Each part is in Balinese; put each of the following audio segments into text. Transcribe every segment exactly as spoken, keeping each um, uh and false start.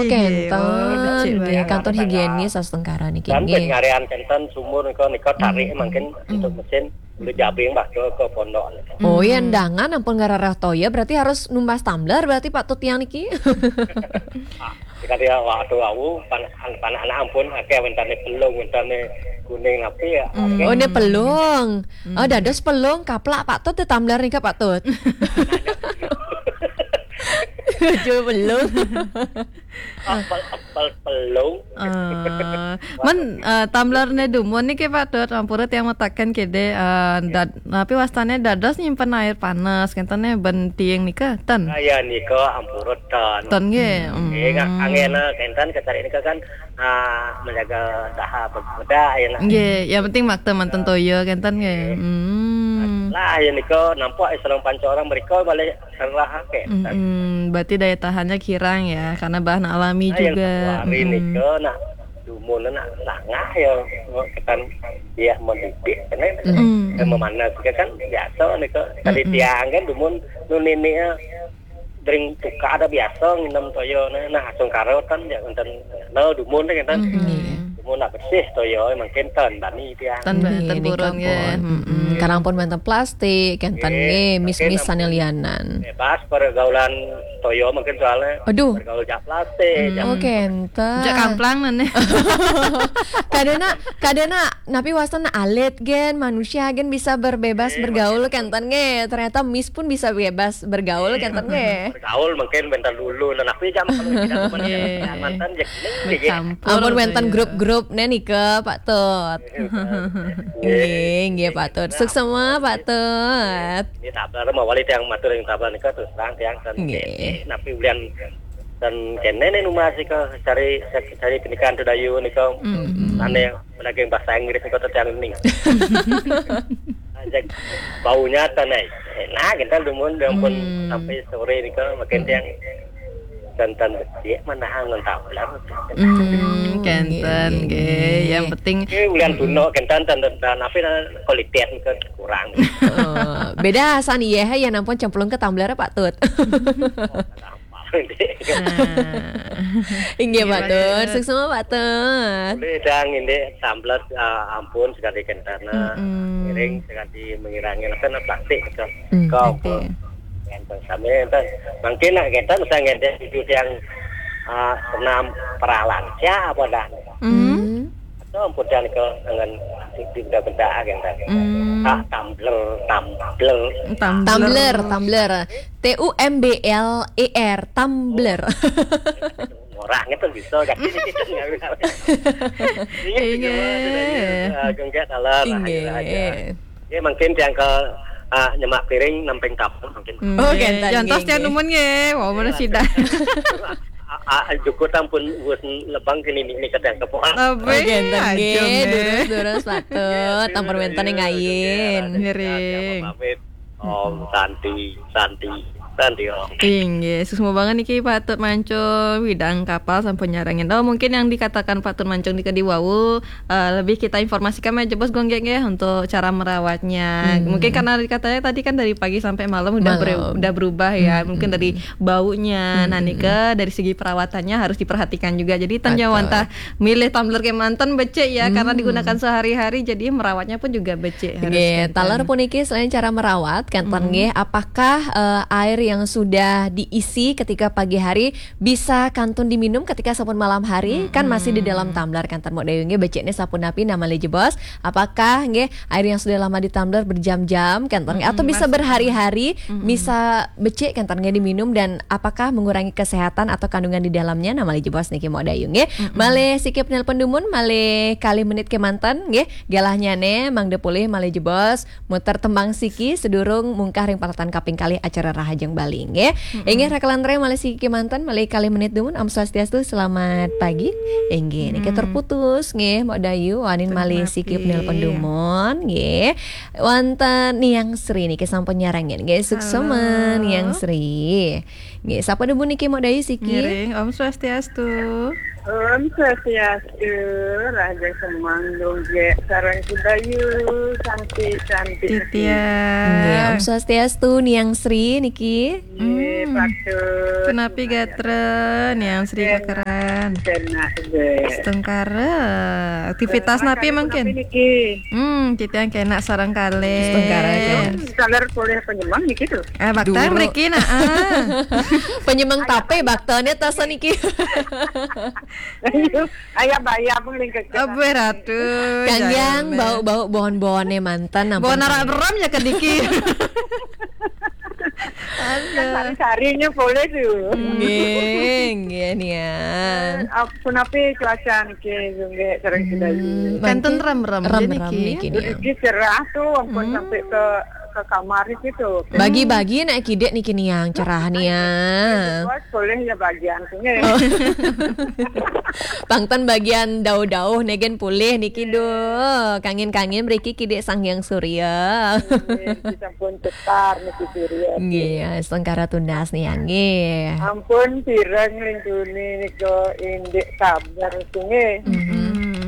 Kenten, nggih, kantun higienis astungkara niki, nggih. Kan penyarean kenten sumur nika, nika tarik mangkin untuk mesin, untuk jabing bakso ke pondok. Oh, ya, undangan ampun ngararah toya, berarti harus numbas tumbler berarti Pak Tut tiang niki. Jika dia waktu wau pan-, pan-, anak ampun akeh wentane pelung, wentane kuning napi ya. Oh, ini pelung. Oh, dados pelung kaplak Pak Tut, tumbler nika Pak Tut. Jujur pelung. Apel, apel pelung. Eh, men, eh, tumbler ne dumun niki Pak Tut, ampura tiang mataken kede, eh, dad-, napi wastane dados nyimpen air panas, kenten ne ben tiing nika, ten? Ah, ya, nika ampura ten. Ten nggih. Nggih, angena kenten kecari nika kan, ah, menjaga saha bedak ya, nah. Nggih, yang penting makta manten toya kenten nggih. Hmm. Lah, ya nika nampak Islam panca orang mereka balik serah kenten. Mm-mm, berarti daya tahannya kirang ya, karena bahan alami juga. Hari nika nak dumun nak langah ya, ketan dia mendidik, kena. Dan memanas juga kan biasa nika. Tadi tiang kan dumun nu nini ya, dering tukar ada biasa nginem toya, nah, nah, asung karo kan ya, enten, no, dumun kan. Dumun nak bersih toya, emang kenten bani tiang. Ten, nggih, ten nika purun nggih. Pun. Mm-mm. Karang pun menten plastik, kenten nggih, mis-mis sane lianan. Bebas pergaulan toya mungkin soalnya. Aduh. Pergaul jak plastik, jak. Oh, kenten. Jak kamplang nane. Kadena, kadena, napi wastan alit gen, manusia gen bisa berbebas bergaul kenten nggih. Ternyata mis pun bisa bebas bergaul kenten nggih. Bergaul mungkin bentar dulu, nah, napi jam kalau tidak mantan ya. Ampun wenten grup-grup ne nika Pak Tut. Nggih, nggih, Pak Tut. Suksma, Pak Tut. Ini tablar, mau wali tiang matur yang tablar nika terus terang tiang dan nggih. Napi ulian dan kene ne numbas nika cari, cari pendidikan tu dayu nika. Ane daging bahasa Inggris nika tiang ning. Ajak baunya tanai. Nah, kita dumun dia pun sampai sore nika makin tiang. Kenten becik mana angon tablar. Hmm, kenten nggih. Yang penting nggih, ulian tuna kenten dan, dan, dan apa, kualitas ke kurang. Oh, beda asan iya ya nampun cemplung ke tumbler Pak Tut. Inggih Pak Tut, suksma Pak Tut. Boleh dang ini tumbler, ah, ampun sekali kenten. Iring sekali mengirangi apa plastik ke. Kau Kenten sami enten. Mungkin nak kenten saya ngedek itu yang, ah, senam peralan. Siapa dah? Hmm. Atau ampun dan ke dengan di benda-benda kenten. Ah, tumbler, tumbler. Tumbler, tumbler. T U M B L E R, tumbler. Orang itu bisa kan. Inggih. Inggih. Inggih. Ya, mungkin yang ke, ah, nyemak piring namping tamu mungkin. Oh, kenten. Jantos nggih, tiang dumun nggih. Wah, mana sida. Ah, ah, jukutan pun wis lebang kini ni, ni kadang kepo. Lebih. Oh, kenten nggih. Durus-durus Pak Tut. Tampun wenten yang ngayin. Ngiring. Om Santi, Santi, Santi Om. Inggih, suksma banget niki Pak Tut Mancung, widang kapal sampun nyarengin. Oh, mungkin yang dikatakan Pak Tut Mancung di kedi wau, eh, lebih kita informasikan aja bos gonggeng ya untuk cara merawatnya. Mungkin karena dikatanya tadi kan dari pagi sampai malam udah ber-, udah berubah ya. Mungkin dari baunya, nah nika dari segi perawatannya harus diperhatikan juga. Jadi tanya wantah milih tumbler kemanten becik ya, karena digunakan sehari-hari, jadi merawatnya pun juga becik harus. Nggih, kenten. Taler puniki selain cara merawat, kenten nggih, apakah, eh, air yang sudah diisi ketika pagi hari bisa kantun diminum ketika sampun malam hari? Kan masih di dalam tumbler, kenten Mok Dayu nggih, beciknya sapunapi namali jebos? Apakah nggih air yang sudah lama di tumbler berjam-jam, kenten nggih, atau bisa berhari-hari, bisa becik kenten nggih diminum, dan apakah mengurangi kesehatan atau kandungan di dalamnya? Namali jebos niki Mok Dayu nggih. Malih sikip nelpon dumun, malih kalih menit kemanten nggih. Galahnya ne mangda pulih malih jebos muter tembang siki sedurung mungkah ring paralatan kaping kalih acara Rahajeng Bali nggih. Inggih, Raka Lantre malih siki kemanten, malih kalih menit dumun. Om Swastiastu, selamat pagi. Inggih, niki terputus nggih Mok Dayu, wanin malih sikip nelpon dumun nggih. Wonten Niang Sri niki sampun nyarengin nggih, suksma Niang Sri. Nggih, sapa dumun niki Mok Dayu siki? Ngiring, Om Swastiastu. Om Swastiastu, Raja Semang Dongge, sareng Kudayu, cantik-cantik. Titiang. Nggih, Om Swastiastu, Niang Sri niki. Nggih, Hmm. Patut. Kenapi gatra, Niang Sri Kekeran? Kenak, nggih. Setengkara. Aktivitas napi mungkin? Niki. Hmm, titiang kenak sareng kalih. Setengkara, ya. Saler polih penyemang niki tuh. Eh, bakta mriki, nah, ah. Penyemang tape baktane tas niki. Ayo, ayo, bayar pun lingkar. Abe ratu. Kanggiang bau-bau bon-bone manten, ampun. Bon arak beram ya kediki. Kan sari-sarinya boleh tuh. Nggih, nggih, Niang. Eh, ap-, punapi cuaca niki, nggih, sareng Kudayu. Hmm, kanten rem-rem rem-rem niki. Niki, Niang. Niki cerah tuh, ampun, sampai ke, ke kamar niki tuh. Bagi-bagi nak kidik niki, Niang, cerah, Niang. Bos, boleh ya bagian sini. Oh. Pangten bagian dauh-dauh negen pulih niki, duh. Kangen-kangen mriki kidik Sang Hyang Surya. Nggih, sampun cetar niki Surya. Nggih, setengkara tundas, Niang, nggih. Ampun pireng lintuni nika indik sabar niki, nggih. Mhm.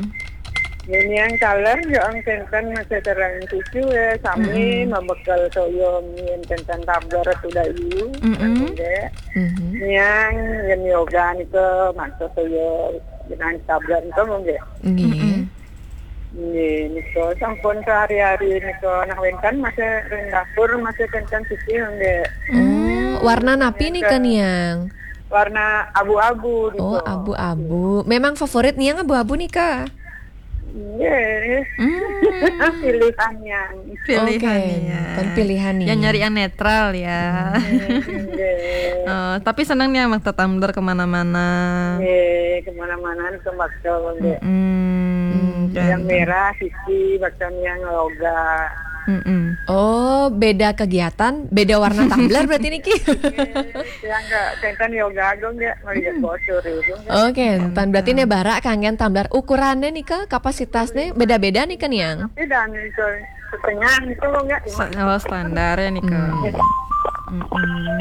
Niang taler yo ang tenten masih terang cucu ya, sami mamekel toyo mien tenten tabler Kudayu. Mhm. Nggih. Mhm. Niang yen yoga nika maksud toyo jenang tabler nika nggih. Nggih. Mhm. Nggih, nika sampun sehari-hari nika nah wenten masih ring dapur masih tenten cucu nggih. Hmm, warna napi nika, Niang? Warna abu-abu nika. Oh, abu-abu. Memang favorit Niang abu-abu nika? Nggih. Hmm. Pilihan yang. Pilihan. Oke, ya. Kan pilihan nih. Yang nyari yang netral ya. Hmm. Nggih. Oh, tapi seneng nih sama tetumbler kemana-mana. Nggih, kemana-mana ke bakso nggih. Mm-mm. Hmm. Yang merah siji, bakso yang loga. Mm-mm. Oh, beda kegiatan, beda warna tumbler berarti niki. Nggih, yang enggak tenten yoga agung ya, melihat bocor itu. Oke, enten berarti nih barak kanggen tumbler. Ukurannya nih ke kapasitasnya beda-beda nih ke Niang. Beda nih ke setengah itu enggak. Se-, oh, standar ya nih ke. Hmm. Mm-mm.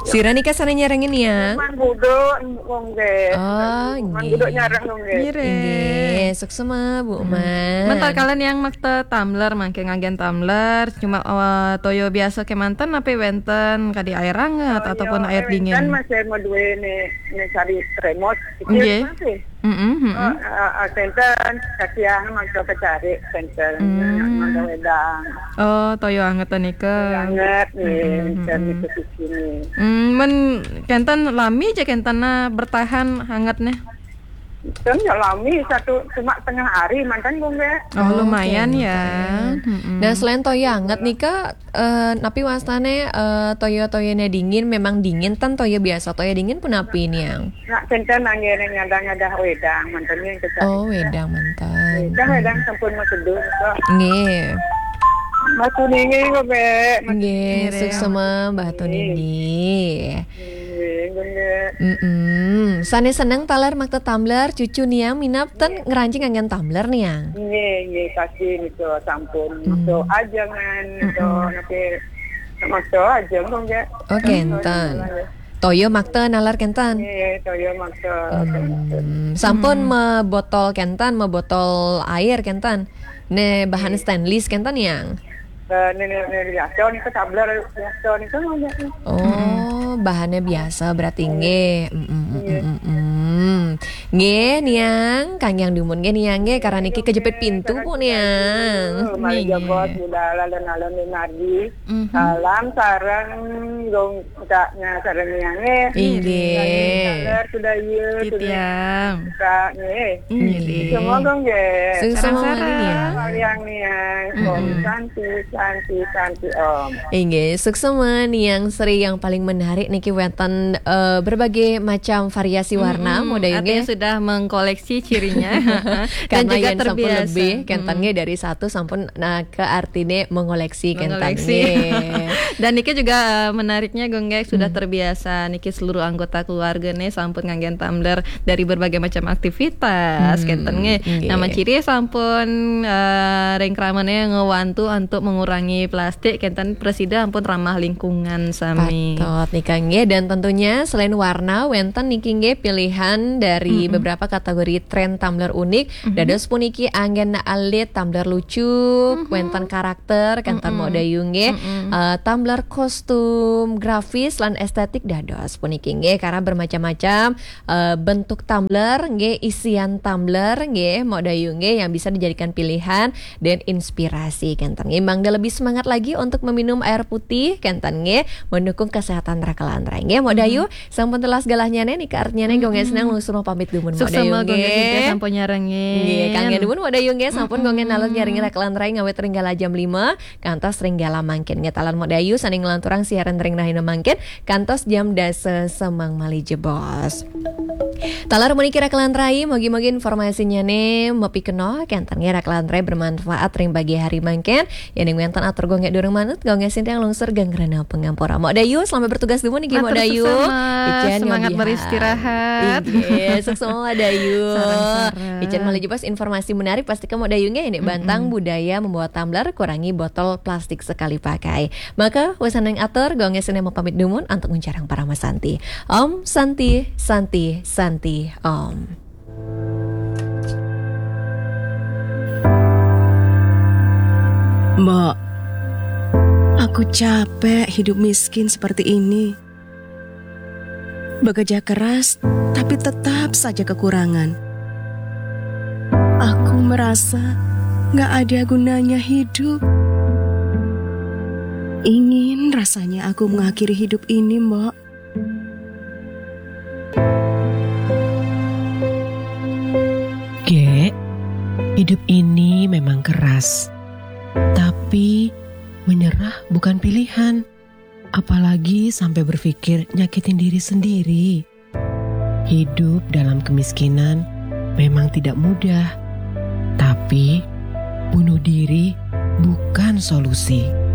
Sira nih ke sana nyerengin ya. Cuman buduk, nggih. Oh, nggih. Cuman buduk nyareng, nggih. Nggih. Nggih, suksma, Bu Mas. Mentar kalian yang makta tumbler, mangke nganggen tumbler, cuma, eh, toyo biasa kemanten, apa wenten, kadi air hangat ataupun air dingin? Kan masih mau duwe nih, nih cari remote, kecil masih. Mm-mm, mm-mm. Oh, eh, eh, tenten, kasihan, makta kecari, tenten, hmm, makta wedang. Oh, toyo anget nika. Toyo anget, nih, mm-mm, dan mm-mm. Itu di sini. Hmm, men, kenten lami aja kenten nah bertahan hangat nih. Kan ya lami satu, cuma tengah hari mantan, Bu, nggih. Oh, lumayan ya. Oke. Mm-mm. Nah, selain toyo anget nika, eh, napi wastane, eh, toyo-toyone dingin, memang dingin, ten toyo biasa, toyo dingin pun napi, Niang? Nak tenten anggene ngadang-ngadang wedang, mantan yang kecak. Oh, wedang mantan. Wedang, wedang sampun maseduh kok. Nggih. Batu ninggi kok, Be. Nggih, suksma Batu Ninggi. Nggih, nggih. Mm-mm. Sane seneng taler makta tumbler, cucu Niang minab ten ngranjing anggen tumbler, Niang. Nggih, nggih, pasti niku sampun. Hmm. Makta ajengan, makta napi, makta ajeng kok nggih. Oh, kenten. Toyo makta naler kenten. Nggih, toyo makta. Hmm. Sampun mebotol kenten, mebotol air kenten. Ne bahan stainless kenten, Niang? Eh, ne, ne, ne, biasa niku, tumbler biasa niku, nggih. Oh, bahannya biasa berarti nggih. Mm, mm, mm, mm, mm. Nggih, Niang, kanggiang dumun nggih, Niang nggih, karena niki kejepit pintu kok, Niang. Nggih, nggih. Alon-alon Nadi. Mhm. Salam sareng Gong Caknya sareng Niang nggih. Inggih. Saler Kudayu, titiang. Cak nggih. Inggih. Semoga nggih. Sareng-sareng. Sareng-sareng, Niang. Kalian Niang. Mm-mm. Om Santi, Santi, Santi Om. Inggih, suksma Niang Sri, yang paling menarik niki wenten, eh, berbagai macam variasi warna, mm-mm, model nggih. Artinya sudah mengkoleksi cirinya. Dan karena juga yen sampun terbiasa. Lebih, kenten nggih dari satu sampun, nah, ke artine mengoleksi kenten nggih. Dan niki juga, eh, menariknya, Gung Gek, sudah terbiasa niki seluruh anggota keluargane sampun nganggen tumbler dari berbagai macam aktivitas, kenten nggih. Nggih. Nama ciri sampun, eh, ring kramane ngewantu untuk mengurangi plastik, kenten presida ampun ramah lingkungan sami. Patut nika nggih, dan tentunya selain warna, wenten niki nggih pilihan dari beberapa kategori tren tumbler unik. Dados puniki anggen alit, tumbler lucu, wénten karakter, kénten Mok Dayu nggih. Eh, tumbler kostum, grafis lan estetik dados puniki nggih, karena bermacam-macam eh, bentuk tumbler nggih, isian tumbler nggih, Mok Dayu nggih, yang bisa dijadikan pilihan dan inspirasi kénten nggih. Mangda lebih semangat lagi untuk meminum air putih kénten nggih, mendukung kesehatan raka lan rai nggih. Mok Dayu, sampun telas galahnya nih, nika artinya nih, gong senang langsung mau pamit dumun Mok Dayu Suksema gong nggih. Sampun nyarengin. Nggih, kangge dumun Mok Dayu nggih, sampun gong nalur nyaring raka lan rai ngawit ring galah jam lima kantos ring galah mangkin nggih. Taler Mok Dayu saning ngelanturang siaran ring rahina mangkin kantos jam dasa semeng malih jebos. Taler puniki raka lan rai, mugi-mugi informasinya nih mapikenoh kénten nggih raka lan rai, bermanfaat ring pagi hari mangkin. Yéning wénten atur gong durung manut, gong sintiang lungsur geng rena pangampura. Mok Dayu, selamat bertugas dumun nggih Mok Matur Dayu. suksema. Icén Semangat nyobihan. Beristirahat. Inggih, suksema Mok Dayu. Sareng-sareng. Icén malih jebos informasi menarik pasti ke Mok Dayu nggih, ini bantang budaya membawa tumbler, kurangi botol plastik sekali pakai. Maka wésaneng atur, gong sintiang mau pamit dumun untuk nguncarang parama santi. Om Santi, Santi, Santi, Om. Mbok, aku capek hidup miskin seperti ini. Bekerja keras, tapi tetap saja kekurangan. Aku merasa nggak ada gunanya hidup. Ingin rasanya aku mengakhiri hidup ini, Mbok. Gek, hidup ini memang keras. Tapi menyerah bukan pilihan. Apalagi sampai berpikir nyakitin diri sendiri. Hidup dalam kemiskinan memang tidak mudah. Tapi bunuh diri bukan solusi.